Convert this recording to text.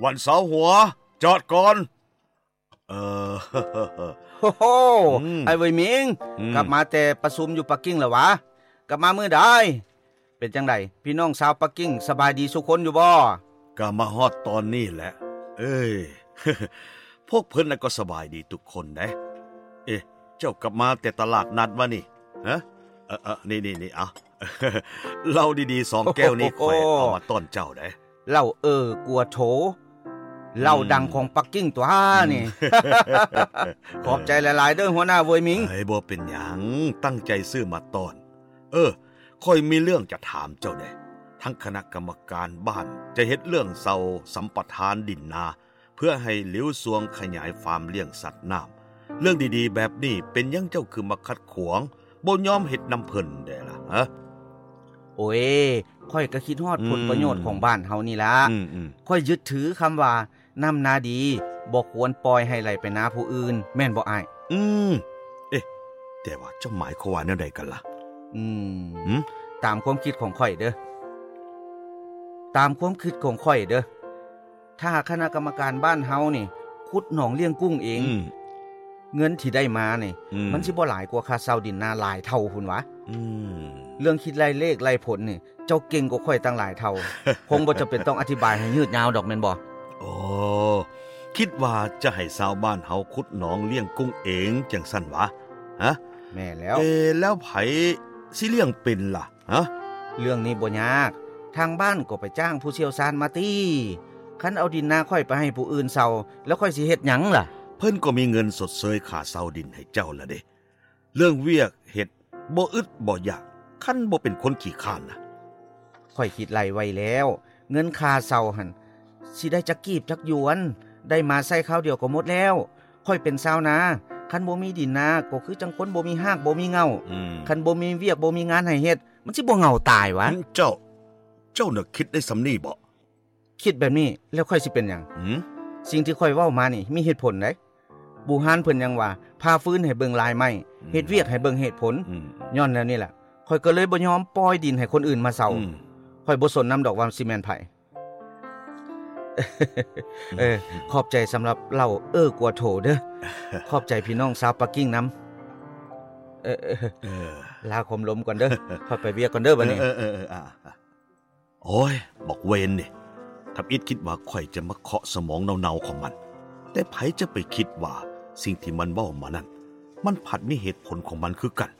ວັນເສົາຫົວ ຈອດກ່ອນ. ເອີ ໂອ້ໂຫ ອືມ ອ້າຍເຫວີຍໝິງ ອືມ ກັບມາແຕ່ປະຊຸມຢູ່ປັກກິ່ງແລ້ວຫວາ? ກັບມາມື້ໃດ? ເປັນຈັ່ງໃດ ພີ່ນ້ອງຊາວປັກກິ່ງ ສະບາຍດີສູ່ຄົນຢູ່ບໍ່? ກໍມາຮອດຕອນນີ້ແຫຼະ. ເອີຍ ພວກເພິ່ນນະກໍສະບາຍດີທຸກຄົນເດ້. ເອະ ເຈົ້າກັບມາແຕ່ຕະຫຼາດນັດຫວານີ້? ຮະ? ເອີ ເອີ ນີ້ໆ ເອົາ ເຫຼົ້າດີໆ ສອງແກ້ວນີ້ ໂອ້ໂຫ ຂ້ອຍເອົາມາຕ້ອນເຈົ້າເດ້. ເຫຼົ້າເອີກົວໂຖ ເຫຼົ້າ ອືມ ດັງຂອງປັກກິ່ງຕົວນີ້. ອືມ ຂອບໃຈຫຼາຍໆເດີ ຫົວໜ້າເຫວີຍໝິງ. ເອີຍ ບໍ່ເປັນຫຍັງ ຕັ້ງໃຈຊື້ມາຕ້ອນ. ເອີ ຂ້ອຍມີເລື່ອງຈະຖາມເຈົ້າແດ່. ທາງຄະນະກຳມະການບ້ານຈະເຮັດເລື່ອງເຊົ່າສຳປະທານດິນນາ ເພື່ອໃຫ້ຫຼິວຊວງຂະຫຍາຍຟາມລ້ຽງສັດນ້ຳ. ເລື່ອງດີໆແບບນີ້ ເປັນຫຍັງເຈົ້າຄືມາຂັດຂວາງ ບໍ່ຍອມເຮັດນຳເພິ່ນແດ່ລະ? ຮະ? ໂອ້ຍ ຂ້ອຍກໍຄິດຮອດ ອືມ ຜົນປະໂຫຍດຂອງບ້ານເຮົານີ້ລະ. ອືມໆ ຂ້ອຍຍຶດຖືຄຳວ່າ ນ້ຳນາດີ ບໍ່ຄວນປ່ອຍໃຫ້ໄຫຼໄປນາຜູ້ອື່ນ ແມ່ນບໍ່ອ້າຍ? ອືມ ເອະ ແຕ່ວ່າເຈົ້າໝາຍຄວາມວ່າແນວໃດກັນລະ? ອືມ ຫື? ຕາມຄວາມຄິດຂອງຂ້ອຍເດີ ຕາມຄວາມຄິດຂອງຂ້ອຍເດີ ຖ້າຄະນະກຳມະການບ້ານເຮົານີ້ ຂຸດໜອງລ້ຽງກຸ້ງເອງ ອືມ ເງິນທີ່ໄດ້ມານີ້ ອືມ ມັນຊິບໍ່ຫຼາຍກວ່າຄ່າເຊົ່າດິນນາຫຼາຍເທົ່າພຸ້ນຫວາ? ອືມ ເລື່ອງຄິດໄລ່ເລກໄລ່ຜົນນີ້ ເຈົ້າເກັ່ງກວ່າຂ້ອຍຕັ້ງຫຼາຍເທົ່າ. ຄົງບໍ່ຈຳເປັນຕ້ອງອະທິບາຍໃຫ້ຍືດຍາວດອກ ແມ່ນບໍ່? ໂອ້ ຄິດວ່າຈະໃຫ້ຊາວບ້ານເຮົາຂຸດໜອງລ້ຽງກຸ້ງເອງຈັ່ງຊັ້ນຫວາ? ຮະ? ແມ່ນແລ້ວ. ເອ ແລ້ວໃຜຊິລ້ຽງເປັນລະ? ຮະ? ເລື່ອງນີ້ບໍ່ຍາກ ທາງບ້ານກໍໄປຈ້າງຜູ້ຊ່ຽວຊານມາຕິ. ຄັນເອົາດິນນາຂ້ອຍໄປໃຫ້ຜູ້ອື່ນເຊົ່າ ແລ້ວຂ້ອຍຊິເຮັດຫຍັງລະ? ເພິ່ນກໍມີເງິນຊົດເຊີຍຄ່າເຊົ່າດິນໃຫ້ເຈົ້າລະເດ້. ເລື່ອງວຽກເຮັດບໍ່ອຶດບໍ່ຢາກ ຄັນບໍ່ເປັນຄົນຂີ້ຄ້ານນະ. ຂ້ອຍຄິດໄລ່ໄວ້ແລ້ວ ເງິນຄ່າເຊົ່າຫັ້ນ ຊິໄດ້ຈັກກີບຈັກຢວນ ໄດ້ມາໃຊ້ຄາວດຽວກໍໝົດແລ້ວ. ຂ້ອຍເປັນຊາວນາ ຄັນບໍ່ມີດິນນາ ກໍຄືຈັ່ງຄົນບໍ່ມີຮາກບໍ່ມີເຫງົ້າ. ອືມ ຄັນບໍ່ມີວຽກບໍ່ມີງານໃຫ້ເຮັດ ມັນຊິບໍ່ເຫງົ້າຕາຍຫວາ? ເຈົ້າ ເຈົ້ານະຄິດໄດ້ສ່ຳນີ້ບໍ? ຄິດແບບນີ້ແລ້ວຂ້ອຍຊິເປັນຫຍັງ? ຫື? ສິ່ງທີ່ຂ້ອຍເວົ້າມານີ້ມີເຫດຜົນໃດ໋. ບູຮານເພິ່ນຍັງວ່າ ຜ່າຟືນໃຫ້ເບິ່ງລາຍໄມ້ ອືມ ເຮັດວຽກໃຫ້ເບິ່ງເຫດຜົນ. ອືມ ຍ້ອນແນວນີ້ແຫຼະ ຂ້ອຍກໍເລີຍບໍ່ຍອມປ່ອຍດິນໃຫ້ຄົນອື່ນມາເຊົ່າ. ອືມ ຂ້ອຍບໍ່ສົນນຳດອກວ່າຊິແມ່ນໃຜ. ເອີ ອືມ ຂອບໃຈສຳລັບເຫຼົ້າເອີກົວໂຖເດີ. ຂອບໃຈພີ່ນ້ອງຊາວປັກກິ່ງນຳ. ເອີ ເອີ ເອີ ລາຄວາມລົມກ່ອນເດີ. ຂ້ອຍໄປວຽກກ່ອນເດີບັດນີ້. ເອີ ເອີ ເອີ ເອີ ອາ ໂອ້ຍ ບັກເວນນີ້ ທຳອິດຄິດວ່າຂ້ອຍຈະມາເຄາະສະໝອງເນົ່າໆຂອງມັນ, ແຕ່ໃຜຈະໄປຄິດວ່າສິ່ງທີ່ມັນເວົ້າມານັ້ນ ມັນພັດມີເຫດຜົນຂອງມັນຄືກັນ.